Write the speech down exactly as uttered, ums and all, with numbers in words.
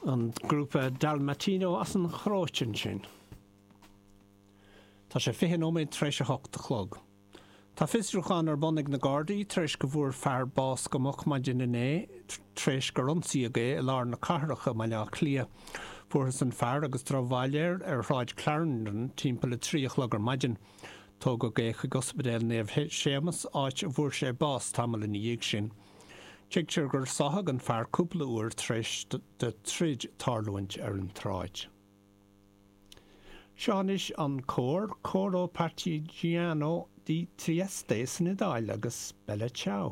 An grúpa Dalmatino as an Chróit ansin. Tá sé fiche nóiméad tar éis a hocht a chlog. Tá fiosrúchán ar bun ag na Gardaí tar éis go bhfuair fear bás go moch maidin inné tar éis gur ionsaíodh é i lár na cathrach i mBaile Átha Cliath. Fuarthas an fear agus drochbhail air ar Shráid Clarendon timpeall a trí a chlog ar maidin. Tógadh é chuig Ospidéal Naomh Séamas áit a bhfuair sé bás tamall ina dhiaidh sin. Tuigtear gur sáthadh an fear cúpla uair tar éis do troid tarlúint ar an tsráid. Seo anois an cór Coro Partigiano di Trieste san Iodáil agus Bella Ciao.